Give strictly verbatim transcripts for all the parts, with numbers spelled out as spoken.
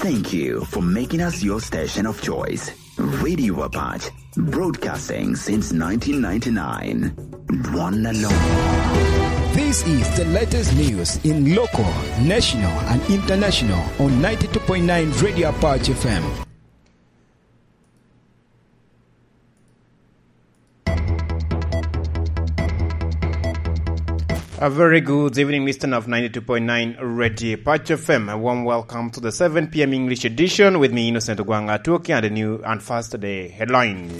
Thank you for making us your station of choice. Radio Apache, broadcasting since nineteen ninety-nine. One alone. This is the latest news in local, national, and international on ninety-two point nine Radio Apache F M. A very good evening, listener of ninety-two point nine Radio Apache F M. A warm welcome to the seven p.m. English edition with me, Innocent Ogwang Atuoki, and the new and first day headlines.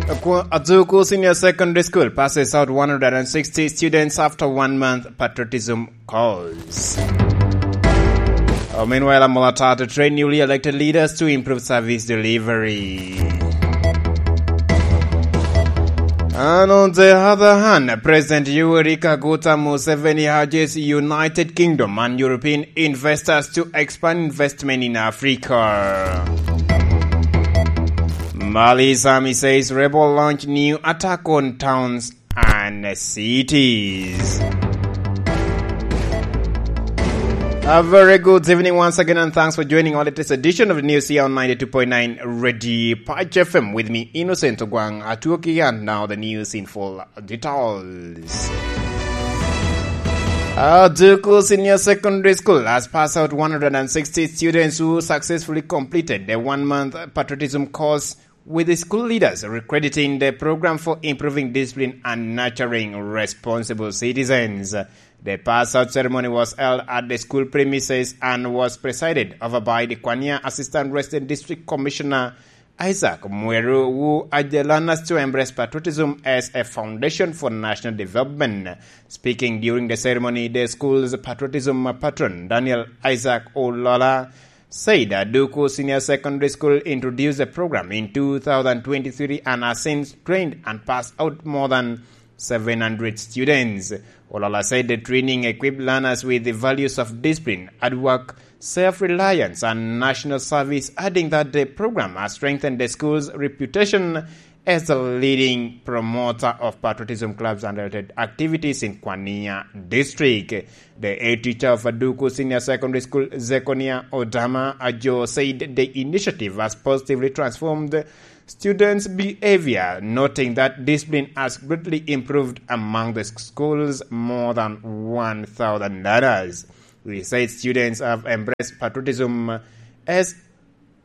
Akwa-, Azuku Senior Secondary School passes out one hundred and sixty students after one month patriotism course. Uh, meanwhile, Amolata to train newly elected leaders to improve service delivery. And on the other hand, President Yoweri Kaguta Museveni urges United Kingdom and European investors to expand investment in Africa. Mali's army says rebel launch new attack on towns and cities. A very good evening once again, and thanks for joining our latest edition of the news here on ninety-two point nine Radio Apache F M. With me, Innocent Ogwang Atuoki, and now the news in full details. Azuku Senior Secondary School has passed out one hundred and sixty students who successfully completed the one-month patriotism course, with the school leaders crediting the program for improving discipline and nurturing responsible citizens. The pass-out ceremony was held at the school premises and was presided over by the Kwania Assistant Resident District Commissioner Isaac Mweru, who urged learners to embrace patriotism as a foundation for national development. Speaking during the ceremony, the school's patriotism patron, Daniel Isaac Olola, said Aduku Senior Secondary School introduced the program in two thousand twenty-three and has since trained and passed out more than seven hundred students. Olola said the training equipped learners with the values of discipline, hard work, self-reliance, and national service, adding that the program has strengthened the school's reputation as the leading promoter of patriotism clubs and related activities in Kwania District. The head teacher of Aduku Senior Secondary School, Zekonia Odama Ajo, said the initiative has positively transformed students' behavior, noting that discipline has greatly improved among the school's more than one thousand learners. He said students have embraced patriotism as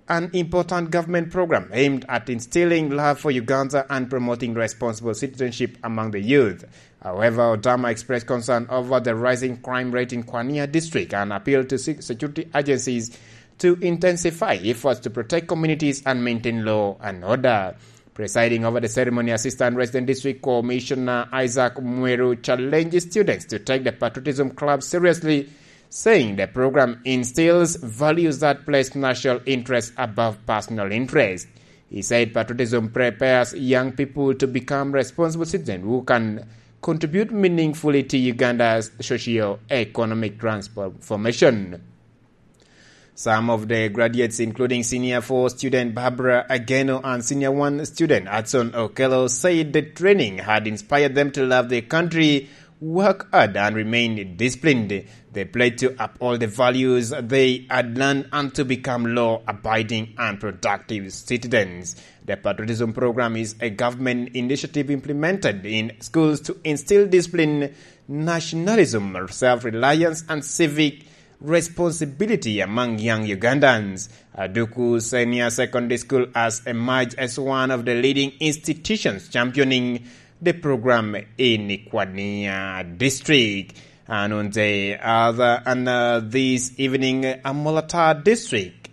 an important government program aimed at instilling love for Uganda and promoting responsible citizenship among the youth. However, Odama expressed concern over the rising crime rate in Kwania District and appealed to se-, security agencies to intensify efforts to protect communities and maintain law and order. Presiding over the ceremony, Assistant Resident District Commissioner Isaac Mweru challenged students to take the Patriotism Club seriously, saying the program instills values that place national interests above personal interests. He said patriotism prepares young people to become responsible citizens who can contribute meaningfully to Uganda's socio-economic transformation. Some of the graduates, including Senior four student Barbara Ageno and Senior one student Hudson Okello, said the training had inspired them to love their country, work hard, and remain disciplined. They pledged to uphold the values they had learned and to become law-abiding and productive citizens. The patriotism program is a government initiative implemented in schools to instill discipline, nationalism, self-reliance, and civic responsibility among young Ugandans. Aduku Senior Secondary School has emerged as one of the leading institutions championing the program in Kwania District. And on the other, and, uh, this evening, Amolata District.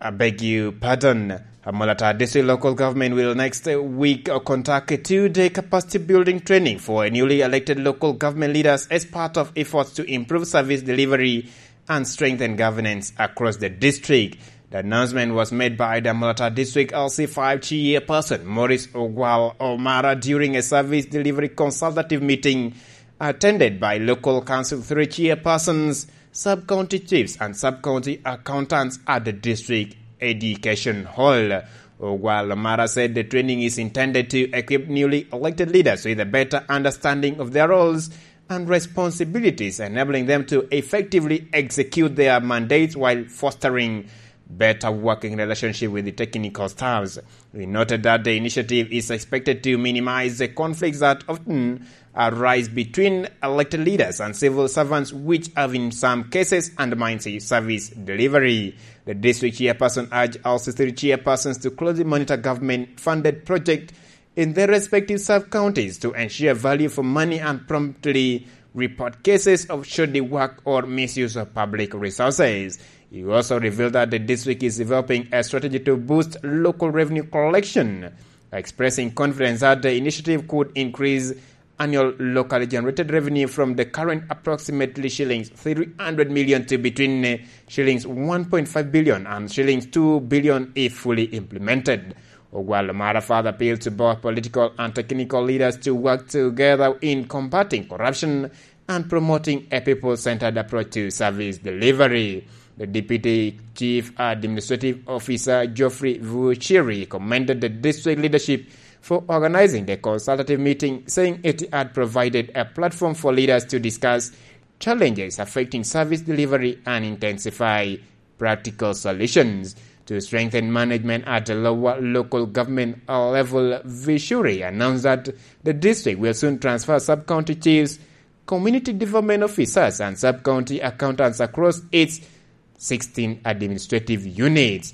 I beg you pardon. Amolata District Local Government will next week, uh, conduct a two-day capacity building training for newly elected local government leaders as part of efforts to improve service delivery and strengthen governance across the district. The announcement was made by the Amolata District L C five chairperson, Maurice Ogwal Omara, during a service delivery consultative meeting attended by local council three chairpersons, sub-county chiefs, and sub-county accountants at the district education hall. Ogwal Omara said the training is intended to equip newly elected leaders with a better understanding of their roles and responsibilities, enabling them to effectively execute their mandates while fostering better working relationship with the technical staffs. He noted that the initiative is expected to minimize the conflicts that often arise between elected leaders and civil servants, which have in some cases undermined the service delivery. The district chairperson urged L C three chairpersons to closely monitor government-funded projects in their respective sub-counties to ensure value for money and promptly report cases of shoddy work or misuse of public resources. He also revealed that the district is developing a strategy to boost local revenue collection, expressing confidence that the initiative could increase annual locally generated revenue from the current approximately shillings three hundred million to between, uh, shillings one point five billion and shillings two billion if fully implemented. Ogwal Omara further appealed to both political and technical leaders to work together in combating corruption and promoting a people-centered approach to service delivery. The Deputy Chief Administrative Officer, Geoffrey Vuchiri, commended the district leadership for organizing the consultative meeting, saying it had provided a platform for leaders to discuss challenges affecting service delivery and intensify practical solutions to strengthen management at the lower local government level. Vuchiri announced that the district will soon transfer sub-county chiefs, community development officers, and sub-county accountants across its sixteen administrative units.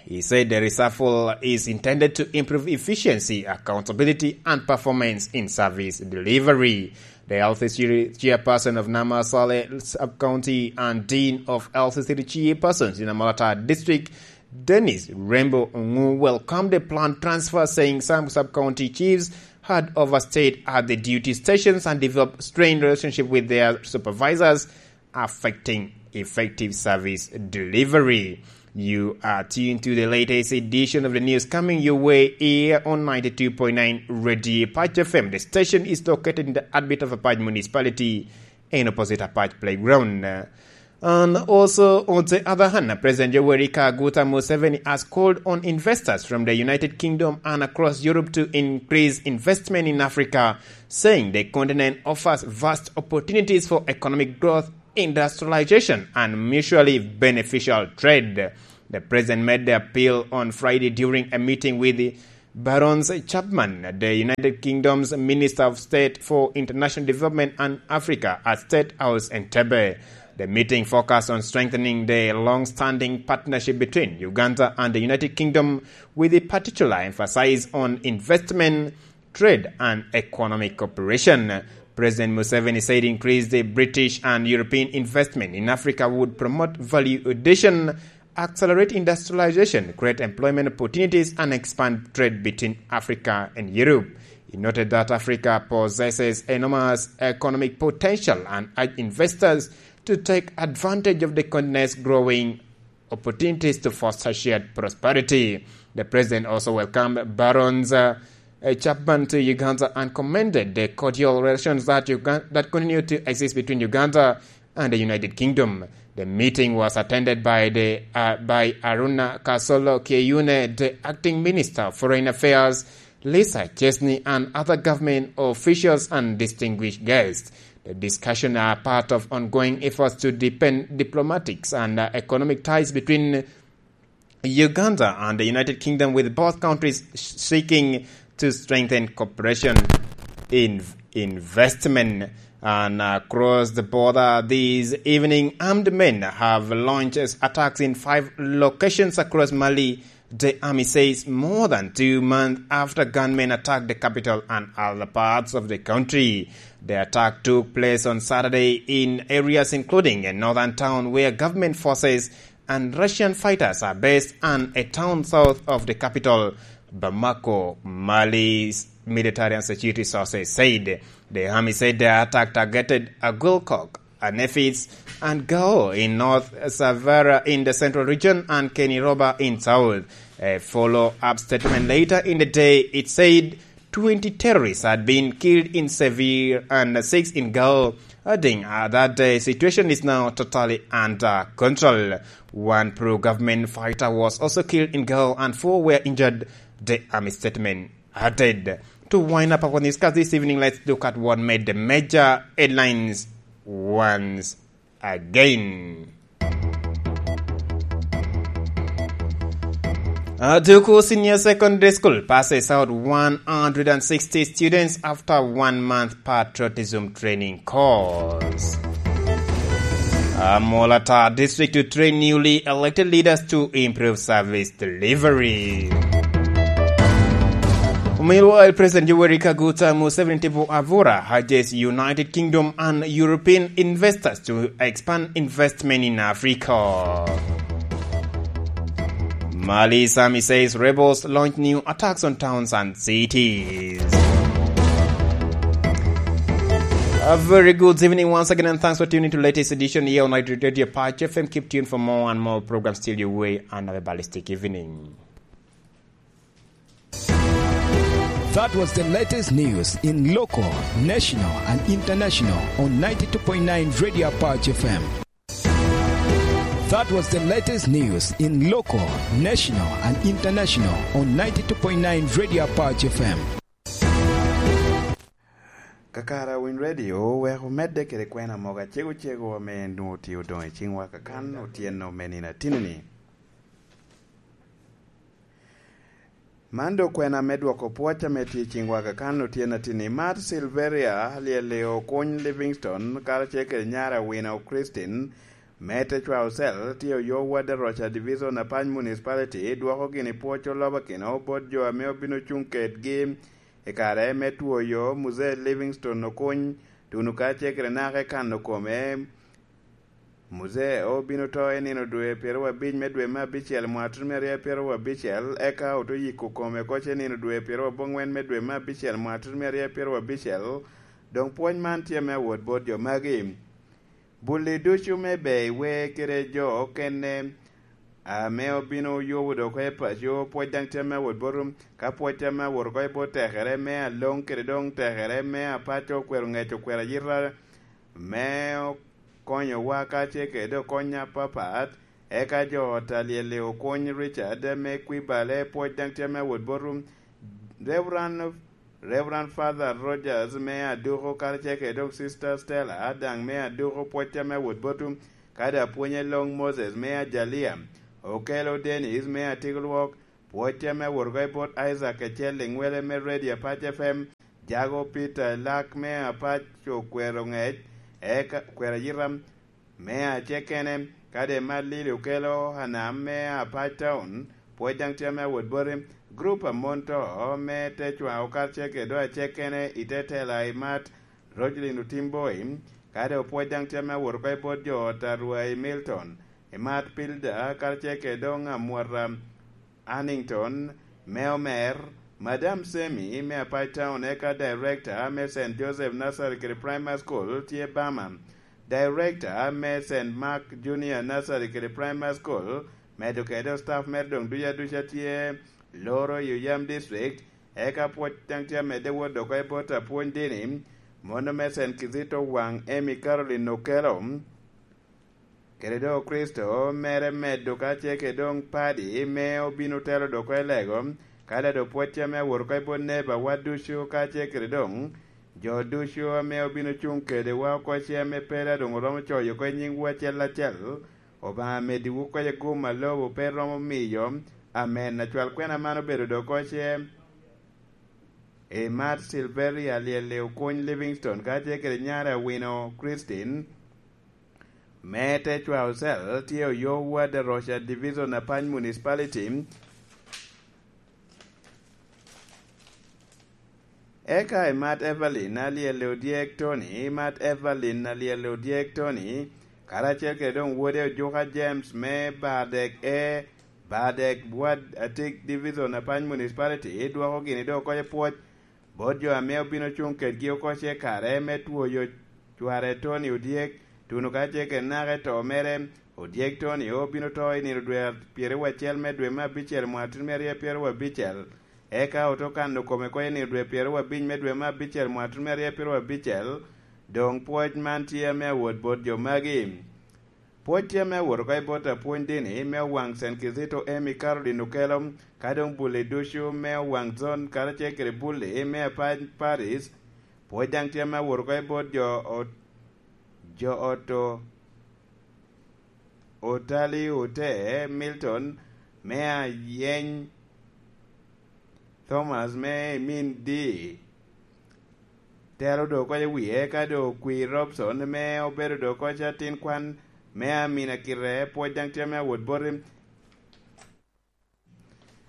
He said the reshuffle is intended to improve efficiency, accountability, and performance in service delivery. The L C C chairperson of Namasole Sub-County and Dean of L C C chairpersons in Amolatar District, Dennis Rembo Ongu, welcomed the planned transfer, saying some sub-county chiefs had overstayed at the duty stations and developed strained relationship with their supervisors, affecting effective service delivery. You are tuned to the latest edition of the news coming your way here on ninety-two point nine Radio Apac F M. The station is located in the heartbeat of Apac Municipality and opposite Apac Playground. And also, on the other hand, President Yoweri Kaguta Museveni has called on investors from the United Kingdom and across Europe to increase investment in Africa, saying the continent offers vast opportunities for economic growth, industrialization, and mutually beneficial trade. The president made the appeal on Friday during a meeting with Barons Chapman, the United Kingdom's Minister of State for International Development and Africa, at State House Entebbe. The meeting focused on strengthening the long-standing partnership between Uganda and the United Kingdom, with a particular emphasis on investment, trade, and economic cooperation. President Museveni said increased British and European investment in Africa would promote value addition, accelerate industrialization, create employment opportunities, and expand trade between Africa and Europe. He noted that Africa possesses enormous economic potential and urged investors to take advantage of the continent's growing opportunities to foster shared prosperity. The president also welcomed Barons, uh, uh, Chapman to Uganda and commended the cordial relations that Ugan-, that continue to exist between Uganda and the United Kingdom. The meeting was attended by the, uh, by Aruna Kasolo Kyeyune, the acting minister of foreign affairs, Lisa Chesney, and other government officials and distinguished guests. The discussion are part of ongoing efforts to deepen diplomatics and, uh, economic ties between Uganda and the United Kingdom, with both countries seeking to strengthen cooperation in investment. And across the border this evening, armed men have launched attacks in five locations across Mali, the army says, more than two months after gunmen attacked the capital and other parts of the country. The attack took place on Saturday in areas including a northern town where government forces and Russian fighters are based, and a town south of the capital, Bamako, Mali's military and security sources said. The army said the attack targeted Agulkok, Anefis, and Gao in North, Savara in the central region, and Keniroba in south. A follow-up statement later in the day, it said twenty terrorists had been killed in Severe and six in Gao, Adding, uh, that the situation is now totally under control. One pro-government fighter was also killed in Gao and four were injured, the army statement added. To wind up our newscast this evening, let's look at what made the major headlines once again. Aduku Senior Secondary School passes out one hundred sixty students after one month patriotism training course. Amolata District to train newly elected leaders to improve service delivery. Meanwhile, President Yoweri Kaguta Museveni Tibu Avura urges United Kingdom and European investors to expand investment in Africa. Mali's army says rebels launch new attacks on towns and cities. A very good evening once again, and thanks for tuning to latest edition here on Night Radio Patch F M. Keep tuned for more and more programs till your way. Another ballistic evening. That was the latest news in local, national, and international on ninety-two point nine Radio Apache F M. That was the latest news in local, national, and international on ninety-two point nine Radio Apache F M. Kakara Win Radio wek omedde kede kwena mogo acego cego ame en nwoŋo tye odoŋ i ciŋwa kakan otyeno me nino atinni. Man doŋ kwena me dwoko pwoc ame tye i ciŋwa kakan otyeno atinni. Mat Silveria Lyelio Okuny Livingstone karacel kede nyare Awino Christine me Tecwa Ocel tye oyo Wadaroca Division Apany Municipality dwoko gini pwoc olobakino bot jo ame obino cuŋ kedgi i kare me twoyo Muzee Livingstone Okuny, tuno karacel kede naka i kano kome. Muzee obino to i nino dwe pyeraryo abic me dwe me abicel mwaka tutumia aryo pyeraryo abicel, eka oto yiko kome koc i nino dwe pyeraryo abongwen me dwe me abicel mwaka tutumia aryo pyeraryo abicel. Doŋ pwony man tye me awot bot jo magi. Bulli ducu me ber i wer kede jo okene ame obino yubo dok oko i paco, pwoc daŋ tye me awot botu, ka pwoc tye me awot oko i bot tekere me aloŋ kede doŋ tekere me apaco okwero ŋec okwero ayita me konyowa ka ce kede okony apapat, eka jo ot a Lyelli Okuny Richard me Kwibale, pwoc daŋ tye me awot botu, Reverend, Reverend Father Rogers me Aduko, karacel kede doŋ Sister Stella daŋ me Aduko, pwoc tye me awot botu, kadi apwony Elong Moses me Ajalia, Okelo Dennis me Atigolwok, pwoc tye me awot oko i bot Isaac Ecel Liŋwele me Radio Apac F M, Jago Peter Elak me Apac Okwero Ŋec, eka Okwero Ayita me Acekene, kadi Emat Lili Okelo Anam me Apac Town, pwoc daŋ tye me awot boti, gurup a mon to me Tecwa Okar Ceke do Acekene i te tela Emat Rogelin Otimboi, kadi opwoc daŋ tye me awot oko i bot jo ot a Rwai Milton, Emat Pilda, karacel kede doŋ Amwata Annington me Omer, Madam Semi me Apac Town, eka Director me Saint Joseph Nursery kede Primary School tye Bama, Director me Saint Mark Junior Nursery kede Primary School, medo kede staff mere doŋ duc aduca tye loro i Oyam District, eka pwoc daŋ tye amedde wot oko i bot apwony dini, mono me Saint Kizito Waŋ Emi Caroline Okello, kede doŋ Kricito mere medo ka ce kede doŋ padi me obino telo dok oko i lego, ka daŋ doŋ pwoc ame awot oko i bot neba wa ducu ka ce kede doŋ jo ducu ame obino cuŋ kedewa oko ce ame pe daŋ doŋ oromo coyo oko i nyiŋwu acel acel, Obaŋa meddiwu oko i gum a lobo pe romo miyo. Amen. Acwal kwena man obedo doŋ oko ce Emat Silveria Lyelli Okuny Livingstone, ka tye kede nyare Awino Christine, me Tecwa Ocel, tye oyo Ward Rocha Division, Apany Municipality. Eka Emat Evelyn Alyelle Odyek Tony, Emat Evelyn Alyelle Odyek Tony, karacel kede doŋ wode Ojuka James me Badek E, Badek Ward Atik Division, Apany Municipality, dwoko gini doŋ oko i pwoc bot jo ame obino cuŋ kedgi oko ce kare me twoyo cware Tony Odyek, tuno ka ce kede naka i to mere. Odyek Tony obino to i nino dwe pyeraryo acel me dwe me abicel mwaka tutumia aryo pyeraryo abicel, eka oto kano kome oko i nino dwe pyeraryo abic me dwe me abicel mwaka tutumia aryo pyeraryo abicel. Doŋ pwoc man tye ame awot bot jo magi. Pwoc tye ame awot oko i bot apwony dini me owaŋ Saint Kizito Amy Caroline Okello, ka doŋ bulli ducu me owaŋ zon karacel kede bulli me apac Paris. Pwoc daŋ tye ame awot oko i bot jo ot, jo ot o-, Otali Ote Milton me ayeny Thomas me i min di tero doŋ oko i wie, ka doŋ okwi Robson me obedo doŋ oko ca tin kwan me amina kite. Pwoc daŋ tye ame awot boti.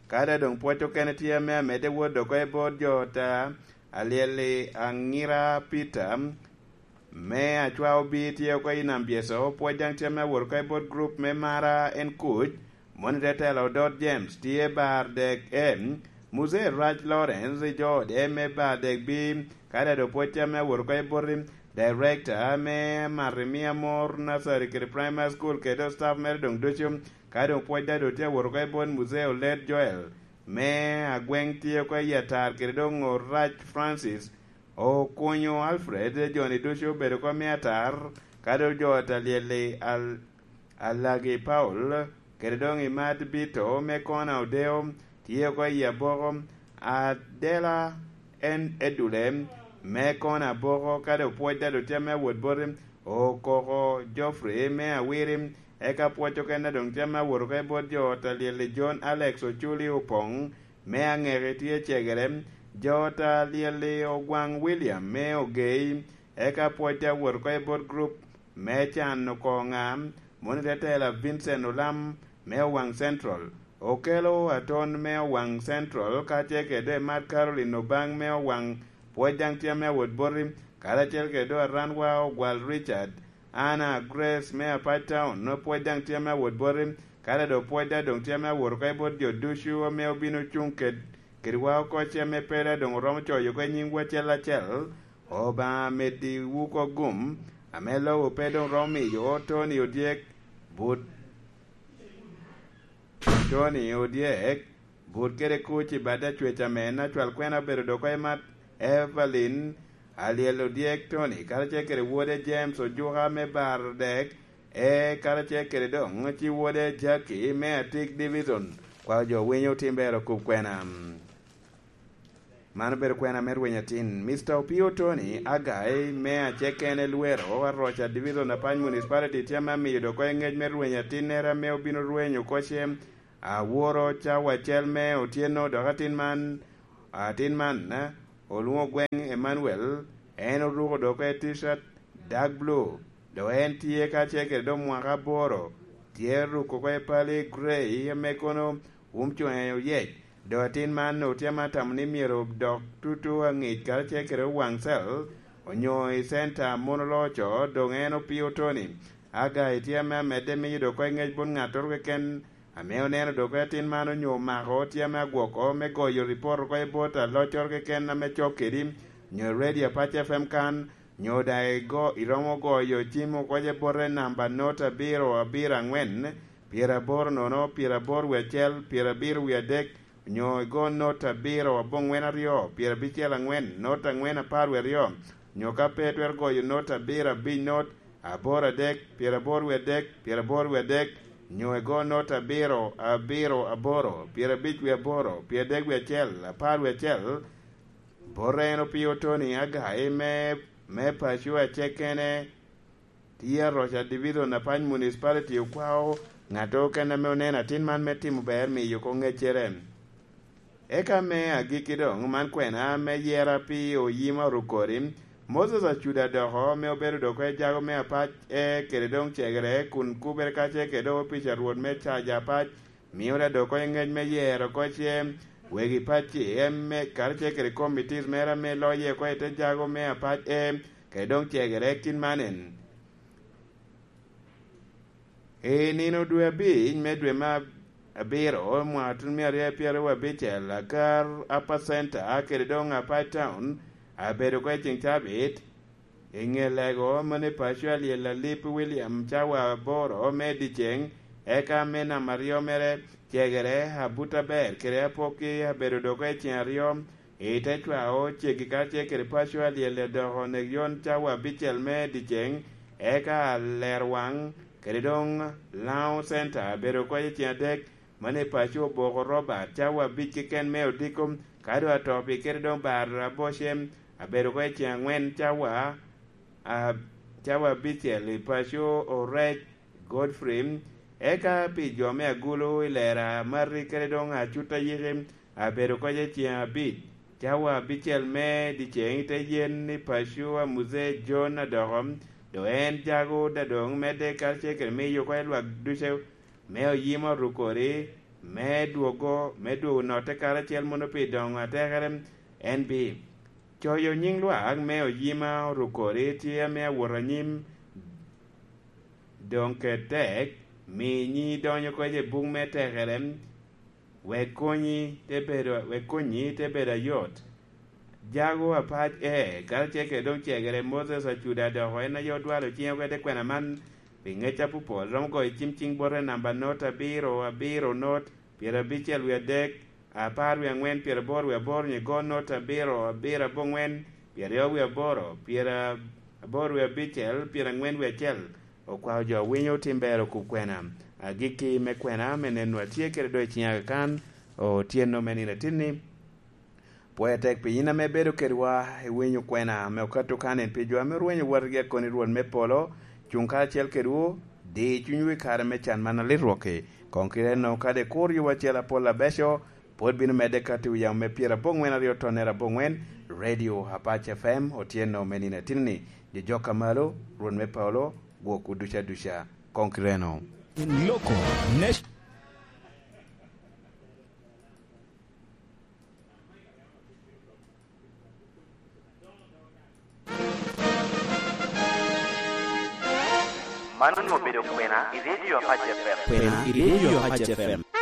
Ka doŋ pwoc okene tye ame amedde wot doŋ oko i bot jo ta, alyel-li Aŋira Peter me Acwa Obi tye oko i Nam Byeco. Pwoc daŋ tye ame awot oko i bot grup me Mara en Kuc, moni te telo Odot James tye bar dek M, Muzee Rac Lawrence i jo ode me bar dek B, ka doŋ pwoc tye ame awot oko i bot Director me Marimia Mor Nursery kede Primary School kede staff mere doŋ ducu. Ka doŋ pwoc daŋ doŋ tye awot oko i bot Muzee Olet Joel me Agweŋ tye oko i Atar kede doŋ Orac Francis, Okunyo Alfred, joni ducu obedo oko me Atar, ka doŋ jo ot alyel-li Al-, Alagi Paul kede doŋ Imad Bito me Kona Odeo tye oko i Aboko, Adela en Edule me Kona Aboko, ka doŋ pwoc daŋ doŋ tye ame awot boti. Okoko Geoffrey me Awiri, eka pwoc okene doŋ tye ame awot oko i bot jo ot alyel-li John Alex Oculi Opoŋ me Aŋeki tye cegere, jo ot alyel-li Ogwaŋ William me Ogei, eka pwoc te awot oko i bot grup me Can Okoŋa, moni te tela Vincent Olam me Owaŋ Central, Okello Aton me Owaŋ Central, kacel kede Mark Caroline Obaŋ me Owaŋ, pwoc daŋ tye ame awot boti, karacel kede doŋ Aranwa Ogwal Richard, Anna Grace me Apac Town, pwoc daŋ tye ame awot boti, kadi doŋ pwoc daŋ doŋ tye ame awot oko i bot jo ducu ame obino cuŋ ked-, kedwa oko ce ame pe daŋ doŋ oromo coyo oko i nyiŋwu acel acel. Obaŋa meddiwu oko gum, ame lobo pe doŋ romo miyo Tony Odyek, but Tony Odyek, but kede kuc i bad acwec ame en acwal kwena obedo dok oko i mat Evelyn Alyel Odyek Tony, karacel kede wode James Ojuka me Bar Dek, e karacel kede doŋ ci wode Jackie me Atik Division. Kwao jo winyo otim ber okub kwena. Man obedo kwena me rweny atin. Mister Opio Tony Agai me Acekene Lwero, Aroca Division, Apac Municipality, tye ame amiyo dok oko i ngec me rweny atinnere ame obino rweny oko ce aworo cawa acel me otyeno, dok atin man, atin man, eh, olwoŋo Gweŋ Emmanuel, en oruko dok oko i T-shirt dark blue, dok en tye kacel kede doŋ mwaka aboro, tye ruko oko i pali gray ame kono wun coŋe oyec. Doŋ atin man otye ame atamo ni myero dok tutu aŋic karacel kede owaŋ cel, onyo i center a mon oloco, doŋ en Opio Tony Agai tye ame amedde miyo dok oko i ngec bot ŋattoro keken ame oneno dok oko i atin man onyo omako, tye ame agwoko me goyo ripot oko i bot aloccoro keken ame cok kedi, onyo i Radio Apac F M kan, nyo daŋ igo-, iromo goyo cim oko i bote namba not abiro abiro aŋwen, pyeraboro nono, pyeraboro wie acel, pyerabiro wie adek, nyo igo not abiro aboŋwen aryo, pyerabicel aŋwen, not aŋwen apar wie aryo, nyo ka pe itwero goyo not abiro abic not, aboro adek, pyeraboro wie adek, pyeraboro wie adek, nyo igo not abiro abiro aboro, pyerabic wie aboro, pyeradek wie acel, apar wie acel, bote en Opio Tony Agai me, me paco Acekene, tye Aroca Division, Apac Municipality, okwao ŋattoro keken ame oneno atin man me timo ber miyo oko ŋeccere. Eka me agikki doŋ, man kwena me yera pi oyima Orukori, Moses Acuda doko, me obedo dok oko i jago me Apac e kede doŋ cegere, kun kubere kacel kede opic a Rwot me caja Apac, mio da dok oko i ngec me yero oko ce wegi pacci, em, me, karacel kede committees mere ame loye oko i te jago me Apac e kede doŋ cegere kit man en. I nino dwe abic me dwe me abiro, mwaka tun mia aryo pyeraryo abicel, agar Upper Center kede doŋ Apac Town abedo oko i ceŋ cabit. I ŋe lego mano i paco alyel Alip William cawa aboro me dyeceŋ, eka me namba aryo mere cegere Abuta Ber kede Apoki abedo doŋ oko i ceŋ aryo i te cwao ceggi karacel kede paco alyel dok onek yon cawa abicel me dyeceŋ, eka Alerwaŋ kede doŋ Laŋo Center abedo oko i ceŋ adek. Mano i paco Oboko Robert cawa abic keken me odiko, ka doŋ Atopi kede doŋ Bar Abocem abedo oko i ceŋ aŋwen cawa, a, cawa abicel i paco Orec Godfrey, eka pi jo me Agulu i Lera Mari kede doŋ Acut Ayiki abedo oko i ceŋ abic, cawa abicel me dyeceŋ i te yen i paco a Muzee John Adoko, doŋ en jago dadoŋ medde karacel kede miyo oko i lwak ducu me oyima Orukori, me dwogo, me dwogo notte karacel mono pi doŋo atekere. En bi coyo nyiŋ lwak me oyima Orukori tye ame awot anyim, doŋ ket tek, mi nyi donyo kec i buk me tekere, wek konyi te bedo, wek konnyi te bedo ayot. Jago apac e, karacel kede doŋ cegere Moses Acuda dok en aye odwalo ciŋe oko i te kwena man pi ŋec apopol, romo goyo cim ciŋ bote namba not abiro, abiro not, pyerabicel wie adek, apar wie aŋwen, pyeraboro wie aboro, nyigo not abiro, abiro aboŋwen, pyeraryo wie aboro, pyeraboro wie abicel, pyeraŋwen wie acel. Okwao jo winyo tim ber okub kwena. Agikki me kwena me neno atye kede doŋ i ciŋa kakan, otyeno me nino atinni. Pwoya tek pi yin ame ibedo kedwa, iwinyo kwena ame okato kan en pi jo ame orwenyo watgi akoni Rwot me polo, cuŋ karacel kedwu, di cunywu i kare me can man alit rwok-ki. Koŋ kite enno, kadi kur yubo acel apol abeco, pwod bino medde kati wi yamo me pyeraboŋwen aryo tonnere aboŋwen, Radio Apac F M, otyeno me nino atinni. Jojok a malo, Rwot me polo, gwokwu duca duca. Koŋ kite enno. In local nation. Man onwoŋo obedo kwena i Radio Apac F M. Kwena i Radio Apac F M.